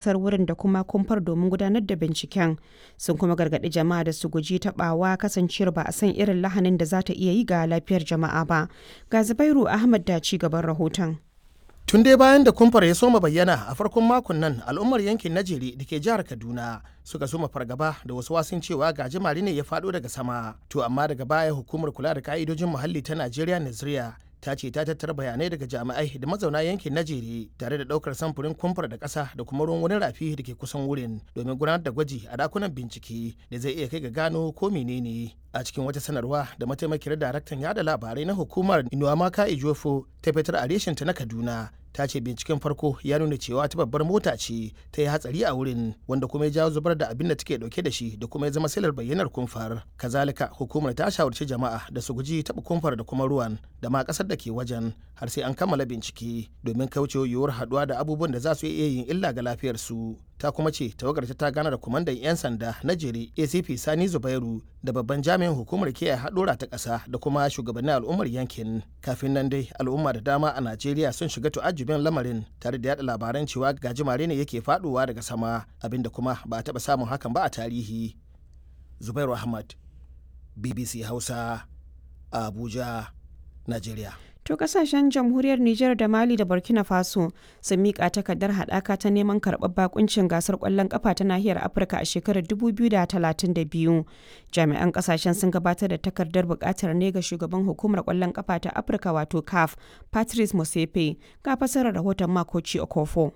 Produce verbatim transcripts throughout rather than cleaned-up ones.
Ƙasar wurin da kuma kumfar domin gudanar da binciken, sun kuma gargaɗi jama'a da su guji taɓawa kasancewar ba a san irin lahanin da za ta iya yi ga lafiyar jama'a ba. Ga Zubairu Ahmad da ci gaban rahoton. Tun dai bayan da kumfar ya soma bayyana a farkon makon nan, al'ummar yankin Najeri da ke jihar Kaduna suka soma fargaba da wasu wasun cewa gajimare ne ya faɗo daga sama. To amma daga baya hukumar kula da ka'idojin muhalli ta Najeriya, Naziriya, ta ce ta tattara bayanai daga jami'ai da mazauna yankin Najeri tare da ɗaukar samfurin kumfar da ƙasa da kuma ruwan wani rafi da ke kusan wurin domin gudanar da gwaji a dakunan bincike da zai iya kai ga gano ko menene. A cikin wata sanarwa da mataimakiyar daraktan yada labarai na hukumar, Inuwamaka Ejiofor, ta fitar a reshen ta na Kaduna, ta ce binciken farko ya nuna cewa ta babbar mota ce ta yi hatsari a wurin, wanda kuma ya jawo zubar da abin da take dauke da shi da kuma ya zama silar bayyanar kumfar. Kazalika hukumar ta shawarci jama'a da su guji taɓa kumfar da kuma ruwan da ma ƙasar da ke wajen har sai an kammala bincike domin kaucewa yiwuwar haɗuwa da abubuwan da za su iya yin illa ga lafiyarsu. Ta kuma ce tawagar ta gana da kwamandan 'yan sanda na Jere, A C P Sani Zubairu, da babban jami'in hukumar kiyaye haɗura ta ƙasa da kuma shugabannin al'ummar yankin. Kafin nan dai al'umma da dama a Najeriya sun shiga tu'ajjubin lamarin tare da yada labaran cewa gajimare ne yake faɗowa daga sama, abinda kuma ba a taɓa samun hakan ba a tarihi. Zubairu Ahmad, B B C Hausa, Abuja, Najeriya. To kasashen Jamhuriyar Nijar da Mali da Burkina Faso sun miƙa takardar haɗaka ta neman karɓar bakuncin gasar ƙwallon ƙafa ta nahiyar Afirka a shekarar dubu biyu da talatin da biyu. Jami'an kasashen sun gabatar da takardar buƙatar ne ga shugaban hukumar ƙwallon ƙafa ta Afirka wato CAF, Patrice Motsepe. Ga fasarar rahoton Makoci Okofo.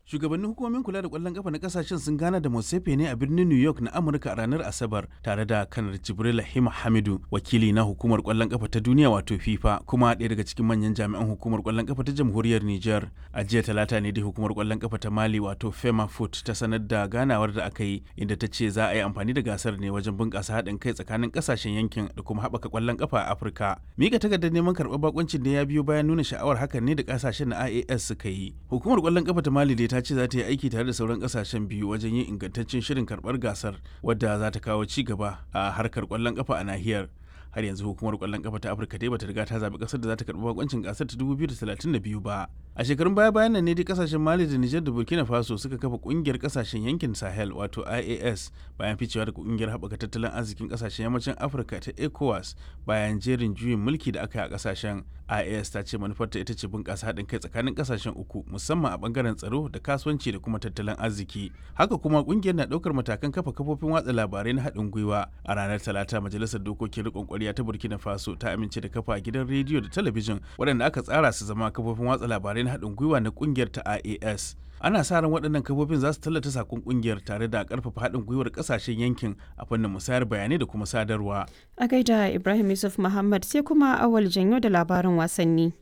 Shugabannin hukumomin kula da kwallon kafa na kasashen sun gana da Motsepe ne a birnin New York na Amurka a ranar Asabar tare da Kanar Jibril Hima Hamidu, wakili na hukumar kwallon kafa ta duniya wato FIFA, kuma ɗaya daga cikin manyan jami'an hukumar kwallon kafa ta Jamhuriyar Niger. A jiya Talata ne dai hukumar kwallon kafa ta Mali wato Fema Foot ta sanar da ganawar da aka yi, inda ta ce za a yi amfani da gasar ne wajen bunƙasa haɗin kai tsakanin kasashen yankin da kuma haɓaka kwallon kafa a Afirka. Mika takardar neman karɓar bakuncin da ya biyo bayan nuna sha'awar hakan ne da kasashen na I A S suka yi. Hukumar kwallon kafa ta Mali dai ta ce za ta yi aiki tare da sauran kasashen biyu wajen yin ingantaccen shirin karbar gasar wadda za ta kawo ci gaba a harkar kwallon kafa a nahiyar. Har yanzu hukumar kwallon kafa ta Afirka dai bata riga ta zabi kasar da za ta karbi bakoncin gasar ta dubu biyu da talatin da biyu ba. A shekarun baya bayan nan ne dai kasashen Mali da Nijar da Burkina Faso suka kafa kungiyar kasashen yankin Sahel wato I A S bayan ficewa daga kungiyar haɓaka tattalin arzikin kasashen yammacin Afirka ta ECOWAS bayan jerin juyin mulki da aka yi a kasashen. I A S ta ce manufarta ita ce bunƙasa haɗin kai tsakanin kasashen uku, musamman a bangaren tsaro da kasuwanci da kuma tattalin arziki. Haka kuma kungiyar na ɗaukar matakan kafa kafofin watsa labarai na haɗin gwiwa. A ranar Talata majalisar dokokin riƙon ƙwarya ta Burkina Faso ta amince da kafa gidan rediyo da talabijin waɗanda aka tsara su zama kafofin watsa labarai na haɗin gwiwa na kungiyar ta I A S. Ana sa ran waɗannan kafofin za su tallata sakon kungiyar tare da ƙarfafa haɗin gwiwar ƙasashen yankin a fannin musayar bayanai da kuma sadarwa. A gaida Ibrahim Yusuf Muhammad. Sai kuma Awal Janyo da labarin wasanni.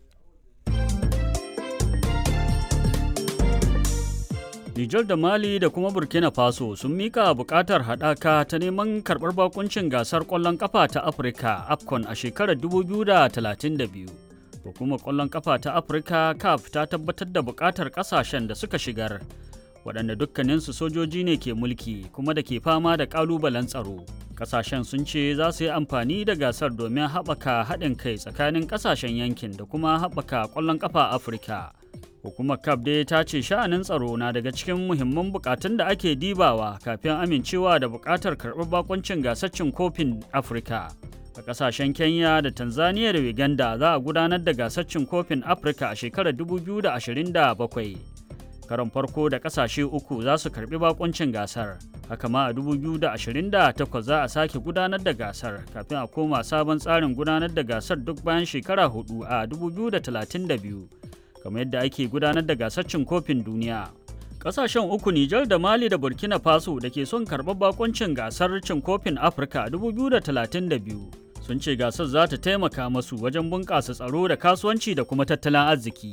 Nijar da Mali da kuma Burkina Faso sun mika bukatar haɗaka ta neman karɓar bakuncin gasar ƙwallon ƙafa ta Afirka AFCON a shekarar dubu biyu da talatin da biyu. Hukumar ƙwallon ƙafa ta Afirka CAF ta tabbatar da bukatar ƙasashen da suka shigar, waɗanda dukkaninsu sojoji ne ke mulki kuma da ke fama da ƙalubalen tsaro. Ƙasashen sun ce za su yi amfani da gasar domin haɓaka haɗin kai tsakanin ƙasashen yankin da kuma haɓaka ƙwallon ƙafa Afirka. Hukumar CAF dai ta ce sha'anin tsaro na daga cikin muhimman bukatun da ake dibawa kafin amincewa da bukatar karɓar bakuncin gasar cin kofin Afirka. A ƙasashen Kenya da Tanzania da Uganda za a gudanar da gasar cin kofin Afirka a shekarar dubu biyu da ashirin da bakwai. Karon farko da ƙasashe uku za su karɓi bakuncin gasar. Haka ma a dubu biyu da ashirin da takwas za a sake gudanar da gasar kafin a koma sabon tsarin gudanar da gasar duk bayan shekara hudu a dubu biyu da talatin da biyu, kamar yadda ake gudanar da gasar cin kofin duniya. Kasashen uku, Nijar da Mali da Burkina Faso, da ke son karɓar bakuncin gasar cin kofin Afirka dubu biyu da talatin da biyu sun ce gasar za ta taimaka masu wajen bunƙasa tsaro da kasuwanci da kuma tattalin arziki.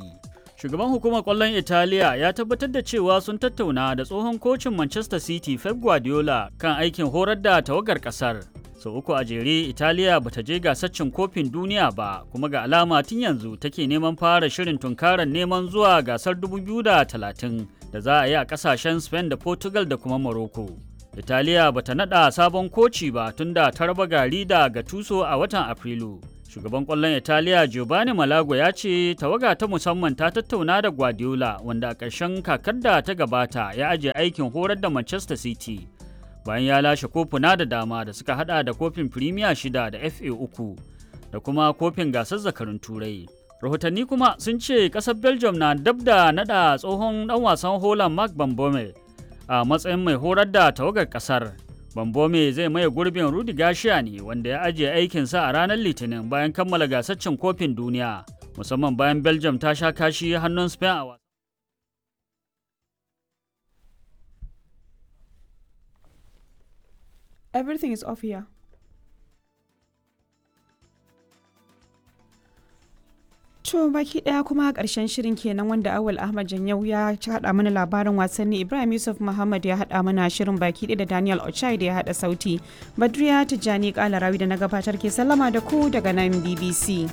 Shugaban hukumar ƙwallon Italiya ya tabbatar da cewa sun tattauna da tsohon kocin Manchester City Pep Guardiola kan aikin horar da tawagar ƙasar. Sau uku a jere Italiya bata je gasar cin kofin duniya ba, kuma ga alama tun yanzu take neman fara shirin tunkarar neman zuwa gasar dubu biyu da talatin da za a yi a kasashen Spain da Portugal da kuma Morocco. Italiya bata nada sabon koci ba tunda ta raba gari da Gattuso a watan Afrilu. Shugaban ƙwallon Italiya Giovanni Malago ya ce tawaga ta musamman ta tattauna da Guardiola wanda a ƙarshen kakar da ta gabata ya ajiye aikin horar da Manchester City bayan ya lashe kofuna da dama da suka hada da kofin Premier shida da F A uku da kuma kofin gasar zakarun Turai. Rahotanni kuma sun ce ƙasar Belgium na dab da nada tsohon ɗan wasan Holland Mark Bambome a matsayin mai horar da tawagar ƙasar. Bambome zai maye gurbin Rudi Garcia ne wanda ya ajiye aikinsa a ranar Litinin bayan kammala gasar cin kofin duniya, musamman bayan Belgium ta sha kashi hannun Spain a wasan. Everything is off here. To baki daya kuma karshen shirin kenan wanda Awal Ahmad Janyau ya haɗa mana labarin wasanni, Ibrahim Yusuf Muhammad ya haɗa mana shirin baki ɗaya da Daniel Ochai da ya haɗa sauti. Badriya Tijjani Kalarawi da na gabatar ke sallama da ku daga nan B B C.